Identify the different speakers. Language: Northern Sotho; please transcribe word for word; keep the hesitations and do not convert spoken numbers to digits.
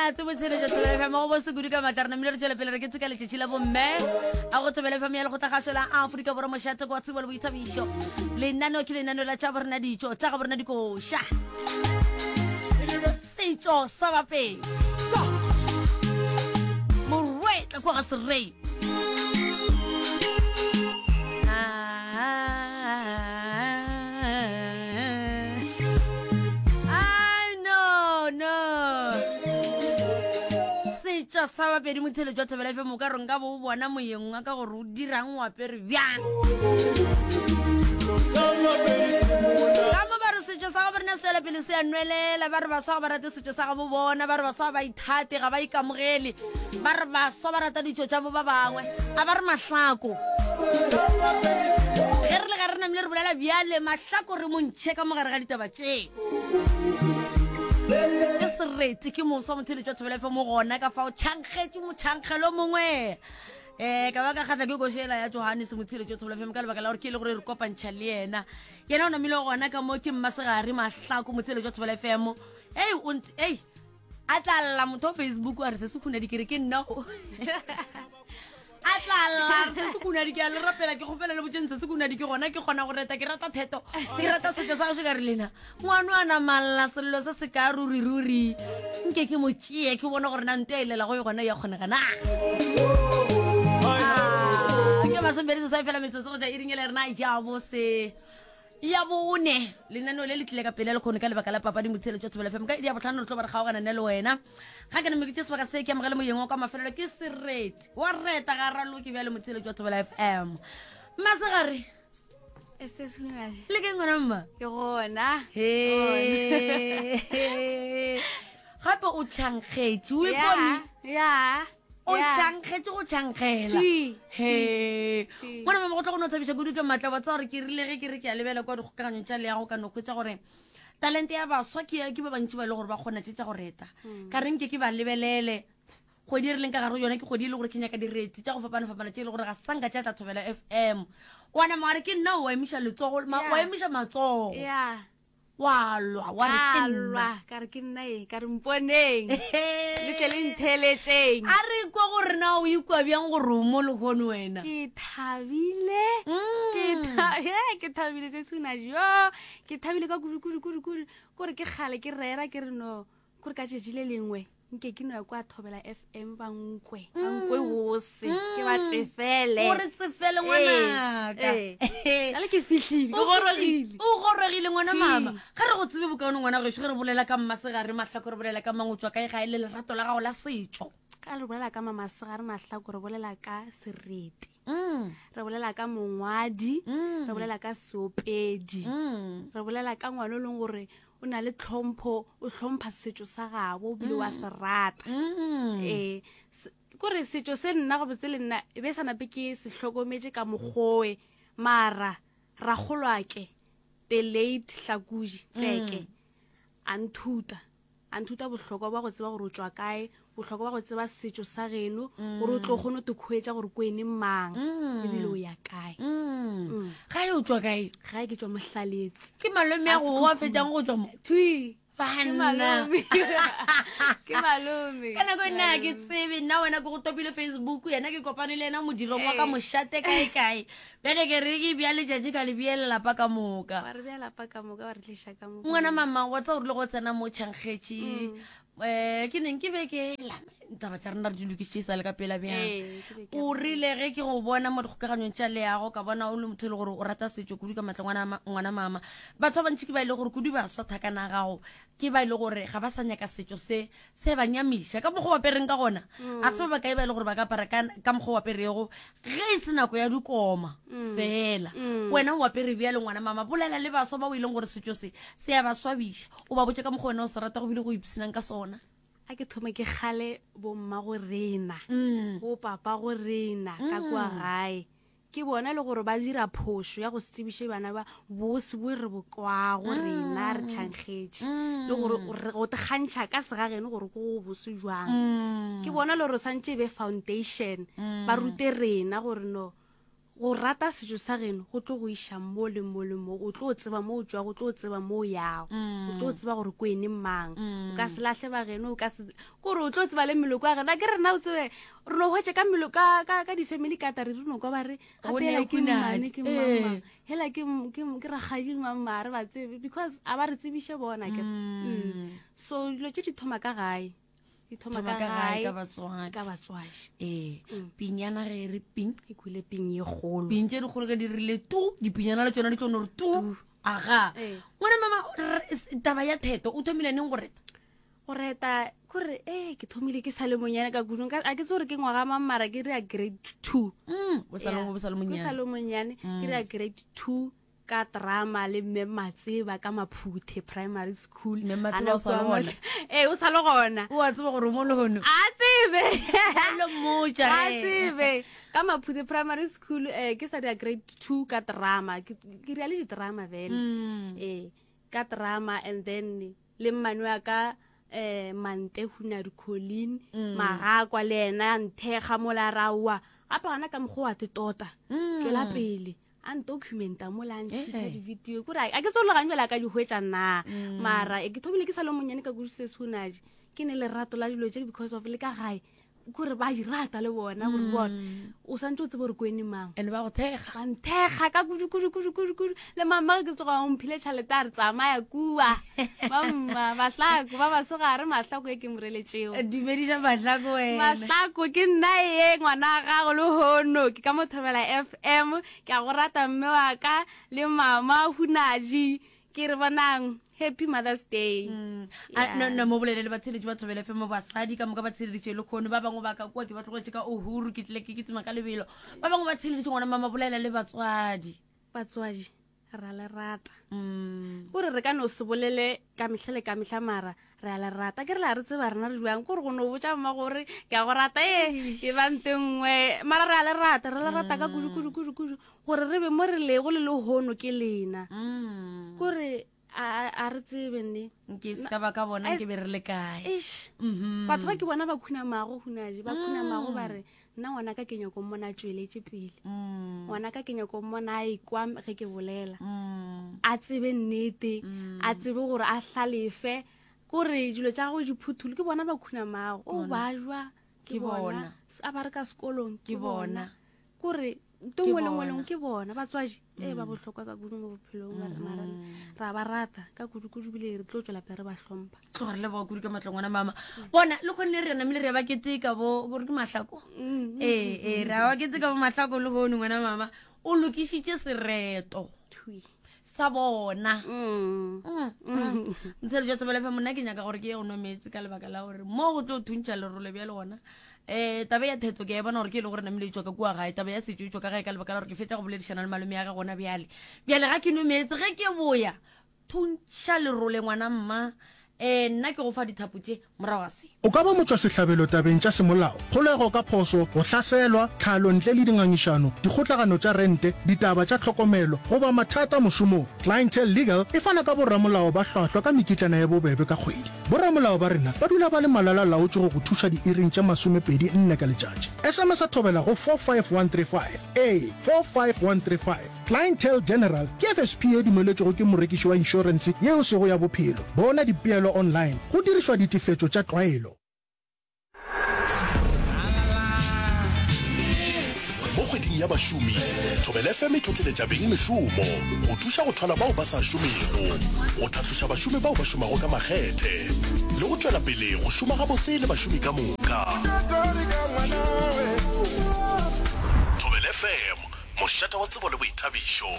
Speaker 1: Monate botsheletša Thobela F M go bose kudu ka maatla. Re namile re tšwela pele re ke tseka letšatši la bomme a go Thobela F M ya lekgotlakgašo la Afrika Borwa, mošate kwa tsebo le boithabišo. Lenaneo ke lenaneo la tša borena ditšo tša ga borena dikoša, setšo sa Bapedi, morwetla kwa ga Serei. Ai, no no setšo sa Bapedi. Motheletšo wa Thobela F M, o ka re nka bo o bona moyeng wa ka gore o dirang, o apere bjang. Ka mo ba re setšo sa gabo rena se tswela pele se a nwelela. Ba re baswa ga ba rate setšo sa gabo bona, ba re baswa ba ithate, ga ba ikamogele, ba re baswa ba rata ditšo tša bo ba bangwe. A ba re mahlako ge re le ga re namile re bolela bjale, mahlako re montšhe ka mogare ga ditaba tše. Ke serete, ke moswa, motheletšo wa Thobela F M gona ka fao tšhankgetše motšhankgelo mongwe. um ka ba ka kgatla ke košela ya Johannes, motheletšo wa Thobela F M, ka lebaka la gore ke e le gore re kopantšha le yena. Yena o namile gona ka mo, ke Mmasegare Mahlako, motheletšo wa Thobela F M. Ei, o nt- ei, a tla lla motho wa Facebook a re se se khunadi, ke re ke nna o. A tla lla re se se khunadi, ke a le rapela, ke kgopela le botseng se se khunadi. Ke gona ke kgona go reta, ke rata theto, ke rata setšo sa gašo. Ka re lena ngwano a namalla sello se se ka ruri ruri, nke ke mo tšee ke bone gore na nto e lela go e gona ya kgonega na. Ah, ke masomepedi seswai fela metsotso go tla iring ele rena ja bose ya bone. Lenaneo le le tlile ka pele le kgone ka lebaka la papadi, motsheletšo Thobela F M. Ka iri ya botlhano re tlo ba re kgaogana nne le wena. Ga ke name ke tše sebaka se ke amogele moyeng wa kwa mafelelo, ke sereti wa reta ga raloke bjale, motsheletšo wa Thobela F M. Masegare.
Speaker 2: Se Sunadi.
Speaker 1: Le ke ngwana mma?
Speaker 2: Ke gona.
Speaker 1: He, gape o tšhankgetše o ipone.
Speaker 2: Ya.
Speaker 1: O tšhankgetše go tšhankgela.
Speaker 2: Twi.
Speaker 1: He.
Speaker 2: Twi.
Speaker 1: Ngwana mama, go tlo go no thabiša kudu ke maatla wa tsa gore ke rile ge ke re ke a lebela kwa dikgokaganyong tša leago, ka no hwetša gore talente ya baswa ke ke ba bantši ba e le gore ba kgona tše tša go reta. Ka re nke ke ba lebelele. Kgwedi e re leng ka gare go yona ke kgwedi e le gore ke nyaka direti tša go fapana-fapana tše e le gore ga sanka tša tla Thobela F M. Wa nama wa re ke nna, o emiša letsogo ma-
Speaker 2: Yeah.
Speaker 1: wa emiša matsogo.
Speaker 2: Ya.
Speaker 1: Wa lwa wa re ke
Speaker 2: Ka
Speaker 1: nna.
Speaker 2: lwa ka re ke nna e, ka re mponeng. Le tle le ntheletšeng.
Speaker 1: A re kwa gore na o ikwa bjang gore o mo lehono wena.
Speaker 2: Ke thabile.
Speaker 1: Mm.
Speaker 2: Ke tha- ye, ke thabile se Sunadi. Yo, ke thabile ka kudu kudu kudu kudu. Kore ke kgale ke rera ke re no. Kore ka tšatši le lengwe nke ke no ya kwa Thobela F M ba nkwe. Ba nkwe bose. Ke ba tsefele.
Speaker 1: Gore tsefele ngwanaka.
Speaker 2: Ee. Jale ke fihlile. Ke gorogile.
Speaker 1: O gorogile ngwana
Speaker 2: Twi.
Speaker 1: mama. Ga re go tsebe bokaone ngwana gešo, ge re bolela ka Mmasegare Mahlako re bolela ka mang, o tswa kae, ga e le lerato la gago la setšo?
Speaker 2: Ka re bolela ka Mamasegare Mahlako re bolela ka sereti.
Speaker 1: Mm,
Speaker 2: Re bolela ka mongwadi.
Speaker 1: mm,
Speaker 2: Re bolela ka seopedi.
Speaker 1: mm.
Speaker 2: Re bolela ka ngwana o leng gore o na le tlhompho, o hlompha setšo sa gabo ebile wa se rata.
Speaker 1: Mm.
Speaker 2: Ee, se- kore setšo se nna gabotse le nna e be sa nape ke se hlokometše ka mokgowe, mara rakgolwake the late Hlakuji Tseke a nthuta a nthuta bohlokwa ba go tseba gore o tswa kae, bohlokwa ba go tseba setšo sa geno, gore o tlo kgone go te khuetša gore ko ene mang ebile o ya kae.
Speaker 1: Mm. Ga e o tswa kae?
Speaker 2: Gae ke tswa Mohlaletse.
Speaker 1: Ke malome ya go wa fetšang go tswa mo?
Speaker 2: Twi. Ke
Speaker 1: Banna.
Speaker 2: malome, ke malome.
Speaker 1: Ka nako e nna ga ke tsebe nna wena, ke go topile Facebook, yena ke kopane le yena modirong wa ka
Speaker 2: Ee.
Speaker 1: mošate kae kae. Bjale ke re ke bja letšatši ka le bea lelapa ka moka.
Speaker 2: Wa re bea lapa ka moka, wa re tliša ka mo.
Speaker 1: Ngwana mama, wa tsa gore le go tsena mo tšhankgetše um ke neng ke be ke la taba tša rena re di lokišitše e sa le ka pela bjang.
Speaker 2: Ee, ke be ke
Speaker 1: O rile ge ke go bona mo dikgokaganyong tša leago, ka bona o le motho e le gore o rata setšo kudu ka matla. Ngwana ma- ngwana mama, batho ba bantši ke ba e le gore kudu baswa thakana gago ke ba e le gore ga ba sa nyaka setšo se se ba nyamiša ka mokgwa o apereng ka gona. A se ba bakae ba e le gore ba ka apara ka ka mokgwa o aperego ge e se nako ya dikoma fela. Wena o apere bjale ngwana mama, bolela le baswa ba o e leng gore setšo se se ya ba swabiša, o ba botse ka mokgwa wena o se rata go bile go ipshinang ka sona.
Speaker 2: A ke thome ke kgale bomma go rena,
Speaker 1: Mm.
Speaker 2: bo papa go rena ka kua gae, ke bona le gore ba dira phošo ya go se tsebiše bana ba bose bo re bo kwago rena re tšhankgetše, le gore re go te kgantšha ka segageno gore ko go bose jwang. Ke bona le gore santše e be foundation, ba rute rena gore no Go rata setšo sa geno go tlo go iša mo le mo le mo, o tlo tseba mo o tšwago, o tlo tseba mo o yago, o tlo tseba gore ko ene mang, o ka se lahle ba geno, o ka se kore o tlo tseba le meloko ya geno. A ke rena o tsebe re no hwetša ka melo ka ka ka di-family ka tare re no kwa ba re
Speaker 1: Go
Speaker 2: gape
Speaker 1: ne
Speaker 2: hela ke
Speaker 1: hunadi.
Speaker 2: mmane ke
Speaker 1: Ee.
Speaker 2: mmamang, hela ke m- ke m- ke rakgadi mamma re ba tsebe because a ba re tsebiše bona ke mm. So dilo tše di thoma ka gae, di thoma
Speaker 1: Thoma
Speaker 2: ka
Speaker 1: ka gae
Speaker 2: gae
Speaker 1: ka batswadi.
Speaker 2: ka batswadi.
Speaker 1: Ee, pinyana ge e re ping,
Speaker 2: E kwile ping ye kgolo,
Speaker 1: ping tše dikgolo ka di rile tu, dipinyana le tsona di tlo no re tu. Aga
Speaker 2: Ee.
Speaker 1: ngwana mama, re- s- taba ya theto o thomile neng go reta?
Speaker 2: Go reta kore e ke thomile ke sa le monyane ka kudu. Nka- a ke tse gore ke ngwaga mang, mara ke rea grade two.
Speaker 1: Mm, o sa le
Speaker 2: Yeah.
Speaker 1: o sa le
Speaker 2: Ke sa
Speaker 1: monyane.
Speaker 2: le monyane, ke rea grade two ka drama le mme Matseba ka Maphuthe Primary School.
Speaker 1: Mme Matseba
Speaker 2: Ana
Speaker 1: o sa le
Speaker 2: kua
Speaker 1: gona?
Speaker 2: Ee, o sa le gona.
Speaker 1: O a tseba gore o mo lehono?
Speaker 2: A tsebe.
Speaker 1: Le mmotša
Speaker 2: A
Speaker 1: ge.
Speaker 2: tsebe ka Maphuthe Primary School, um ke sa dira grade two ka drama, ke ke rea le di-drama vele.
Speaker 1: Mm.
Speaker 2: Ee, ka drama, and then le mmane wa ka um Mante Hunadi Colin
Speaker 1: Mm.
Speaker 2: Magakwa le ena a nthekga mola raowa gape gona ka mokgwa wa te tota
Speaker 1: Mm.
Speaker 2: tswela pele a ntocumenta mola a ntšhuta
Speaker 1: Eh.
Speaker 2: di-video kore a ke tse gane bjale a ka di hwetša na.
Speaker 1: Mm.
Speaker 2: Mara e ke thomile ke sa le monyane ka kudu se sehunaje, ke ne lerato la dilo tše because of le ka gae kore ba di rata le bona gore bona o swantse o tsebe gore kwene mang.
Speaker 1: And ba go thekga?
Speaker 2: Ba nthekga ka kudu kudu kudu kudu kudu. Le mama ge ke tsoga o mphile tšhelete a re tsamaya kua bamma Mahlako ba basegare Mahlako e ke moreletšeo.
Speaker 1: Dumediša Mahlako wena.
Speaker 2: Mahlako, ke nna ye ngwana wa gago le hono ke ka mo Thobela F M. Ke a go rata mme wa ka le mama Hunaji, ke re bonang happy Mother's Day.
Speaker 1: Mm. A, no no mo bolele le batsheletši ba Thobela F M, basadi ka moka ba tsheleditše le kgono. Ba bangwe ba ka kua ke ba tlogetše ka Uhuru, ke tlile ke kitima ka lebelo. Ba bangwe ba tsheleditše, ngwana mama, bolela le batswadi.
Speaker 2: Batswadi, ra le rata.
Speaker 1: Mm.
Speaker 2: Kore re ka no se bolele ka mehla le ka mehla, mara re a le rata. Ke re la re tseba rena re jang kore go no botša mma gore ke a go rata e e ba nte nngwe, mara re a le rata, re le rata ka kudu kudu kudu kudu. Gore re be mo re lego le lehono ke lena.
Speaker 1: Mm.
Speaker 2: Kore a a- a re tsebe nne.
Speaker 1: Nke se ka ba ka bona nke be re le kae.
Speaker 2: Eish.
Speaker 1: Mhm.
Speaker 2: Batho ba ke bona ba khunamago hunaje, ba khunamago ba re nna ngwana ka ke nyako mmona a tsweletše pele.
Speaker 1: Mm.
Speaker 2: Ngwana ka ke nyako mmona a ekwa ge ke bolela.
Speaker 1: Mm.
Speaker 2: A tsebe nnete, a tsebe gore a hlalefe kore dilo tša gagwe di phuthule. Ke bona ba khunamago o ba jwa
Speaker 1: Ke
Speaker 2: ke bona.
Speaker 1: bona.
Speaker 2: A ba re ka sekolong
Speaker 1: Ke
Speaker 2: ke
Speaker 1: bona.
Speaker 2: bona kore nto
Speaker 1: Ke
Speaker 2: nngwe le nngwe le
Speaker 1: bona.
Speaker 2: nngwe ke bona. Batswadi ee ba bohlokwa ka kudu mo bophelong ba rena. Ra ba rata ka kudu-kudu bile re tlo tswela pele re ba hlompha.
Speaker 1: Tloga re leboga kudu ka matlong ngwana mama. Bona le kgonne re namile re ba keteka bo gore ke Mahlako.
Speaker 2: Mm,
Speaker 1: Ee, ee, re a ba keteka bo Mahlako le gono. Ngwana mama o lokišitše sereto
Speaker 2: Thui.
Speaker 1: sa bona.
Speaker 2: Mm.
Speaker 1: Ntshelo jwa Thobela F M, monna ke nyaka gore ke ye go nwa meetse ka lebaka la gore mo go tlo thuntšha lerole bjale gona. Um taba ya theto ke a e bona gore ke e le gore namile e tswa ka kua gae, taba ya setso e tswa ka gae ka lebaka la gore ke fetsa go boledišana le malome ya ge gona bjale. Bjale ga ke nwe meetse, ge ke boya thuntšha lerole ngwana mma. Um nna ke go fa dithapo tše morago ga se.
Speaker 3: O ka ba motšwasehlabelo tabeng tša semolao, kgolego ka phoso, go hlaselwa, tlhalo ntle le dingangišano, dikgotlagano tša rente, ditaba tša tlhokomelo goba mathata mošomong. Clientele Legal e fana ka boramolao ba hlwahlwa ka mekitlana ya bobebe ka kgwedi. Boramolao ba rena ba dula ba le malala laotše go go thuša diiring tše masomepedi nne ka letšatši. S M S a thobela go four five one three five, ee, four five one three five. Clientele General ke F S P e dumeletšwego ke morekiši wa inšorense yeo sego ya bophelo. Bona dipeelo online go dirišwa ditefetšo tša tlwaelo.
Speaker 4: Mo kgweding ya bašomi, Thobela F M e tlotleletša beng mešomo go thuša go thwala bao ba sa šomego, go tlhatloša bašomi bao ba šomago ka makgethe le go tšwela pele go šoma gabotse le bašomi ka moka. Thobela F M, mošate wa tsebo le boithabišo.